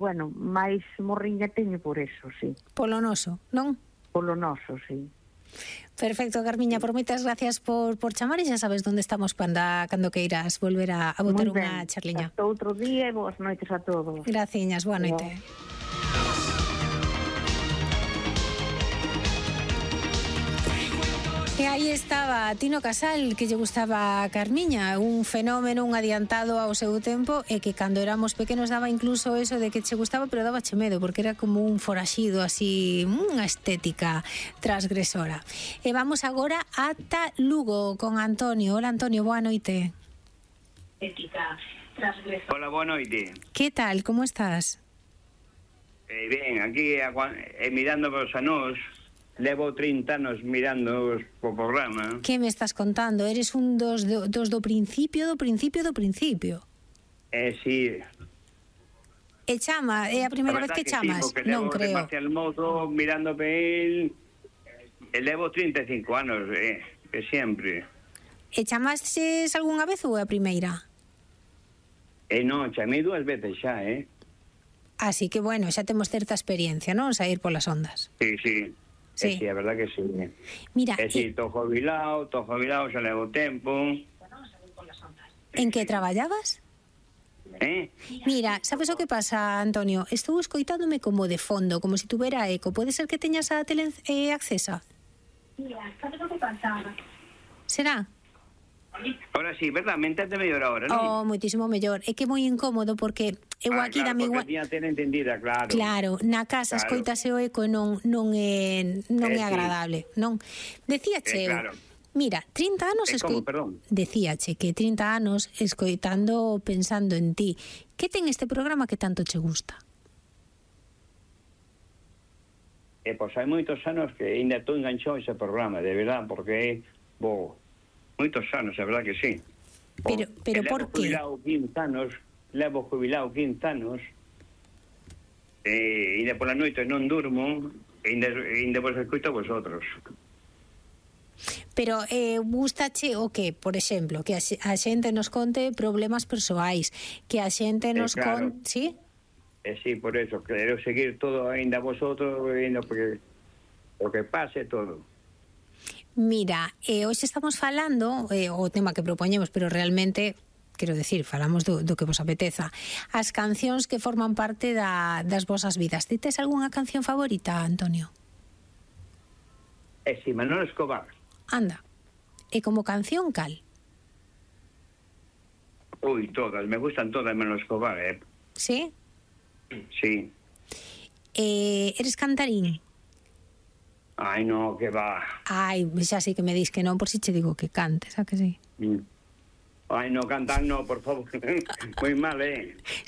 bueno, máis morriña teño por eso, sí. Polo noso, non? Polo noso, sí. Perfecto, Carmiña, por moitas gracias por chamar e xa sabes onde estamos cando queiras volver a botar unha charliña. Hasta outro día e boas noites a todos. Graciñas, boa noite. E aí estaba Tino Casal, que lle gustaba a Carmiña, un fenómeno, un adiantado ao seu tempo, e que cando éramos pequenos daba incluso eso de que che gustaba, pero daba che medo, porque era como un foraxido así, unha estética transgresora. E vamos agora ata Lugo con Antonio. Hola, Antonio, boa noite. Estética transgresora. Hola, boa noite. Que tal, como estás? Ben, aquí mirando os anos. Levo 30 anos mirando o programa. Que me estás contando? Eres un dos do principio. Sí. E chama, é a primeira vez que chamas? Sí, non creo. Marcial Mouzo mirando pe el levo 35 anos, que sempre. E chamases algunha vez ou é a primeira? Non, chamei 2 veces xa, Así que, bueno, xa temos certa experiencia, non? Saír polas ondas. Sí, sí. Sí, sí, a verdad que sí. Mira, sí, tô jubilado, xa levo tempo. En que traballabas? Mira, sabes o que pasa, Antonio? Estou escoitándome como de fondo, como se tuvera eco. Pode ser que teñas a tele accesa? Mira, sabes o que pasa? Será? Ahora sí, verdad, me entende mellor ahora, non? Moitísimo mellor. É que é moi incómodo porque eu aquí claro, na miña... porque ten entendida, claro. Claro, na casa escoitase o eco e non é agradable, non? Decíache, claro. Mira, 30 anos decíache que 30 anos escoitando, pensando en ti. Que ten este programa que tanto che gusta? Pois hai moitos anos que ainda estou enganchado a ese programa, de verdad, porque moitos anos, a verdad que sí. Pero por que? Levo jubilado 15 anos, e ainda pola noite non durmo, e ainda vos escoito a vosotros. Pero gustache o que, por exemplo, que a xente nos conte problemas persoais, que a xente nos conte, ¿sí? Sí, por eso, quero seguir todo ainda a vosotros, porque o que pase todo. Mira, hoxe estamos falando, o tema que propoñemos, pero realmente, quero decir, falamos do que vos apeteza, as cancións que forman parte das vosas vidas. Ti tes algunha canción favorita, Antonio? Si, Manolo Escobar. Anda, e como canción, cal? Ui, todas, me gustan todas Manolo Escobar, Sí? Sí. Eres cantarín? Ai, no, que va. Ai, xa sei que me dis que non, por si che digo que cantes, a que sí? Ai, no, cantar no, por favor. Moi mal,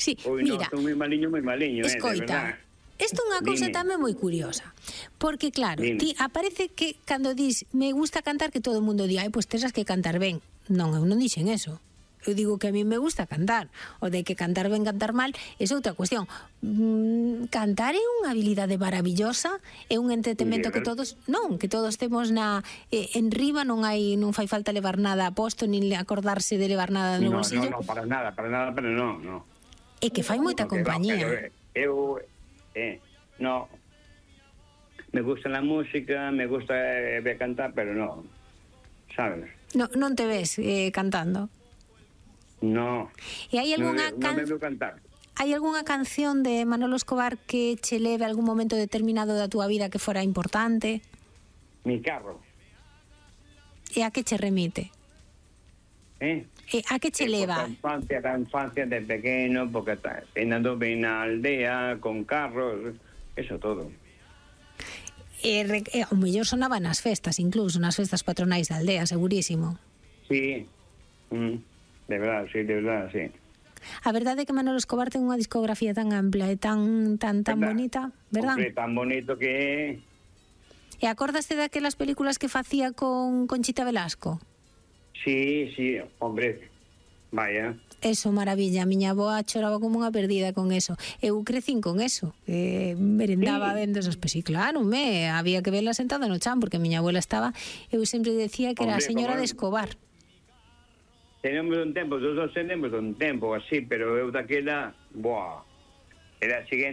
Sí, Ui, mira. No, estou moi maliño, escoita, isto é unha cousa tamén moi curiosa. Porque, claro, ti aparece que cando dis me gusta cantar, que todo o mundo di, pois terás que cantar ben. Non, eu non dixen eso. Eu digo que a mí me gusta cantar. O de que cantar ben, cantar mal, é outra cuestión. Cantar é unha habilidade maravillosa, é un entretenimento que todos, que todos temos en riba, non fai falta levar nada a posto, nin acordarse de levar nada no bolsillo. No, para nada, pero no. É que fai moita compañía. Eu, no, me gusta la música, me gusta ver cantar, pero no, sabes? Non te ves cantando? No, e hai algunha non me veo cantar. Hai algunha canción de Manolo Escobar que che leve a algún momento determinado da túa vida que fora importante? Mi carro. E a que che remite? E a que che leva? A infancia de pequeno, porque andando ben na aldea, con carros, eso todo. O mellor sonaba nas festas, incluso nas festas patronais da aldea, segurísimo. Sí, de verdad, sí. A verdade é que Manolo Escobar ten unha discografía tan ampla e tan bonita, verdad? Hombre, tan bonito que é. E acordaste daquelas películas que facía con Conchita Velasco? Sí, hombre, vaya. Eso, maravilla, a miña avoa choraba como unha perdida con eso. Eu crecín con eso, merendaba vendo esas películas. Claro, había que verla sentada no chan, porque a miña abuela estaba, eu sempre decía que era a señora de Escobar. Tenemos un tempo, todos tenemos un tempo así, pero eu daquela, Era a siguiente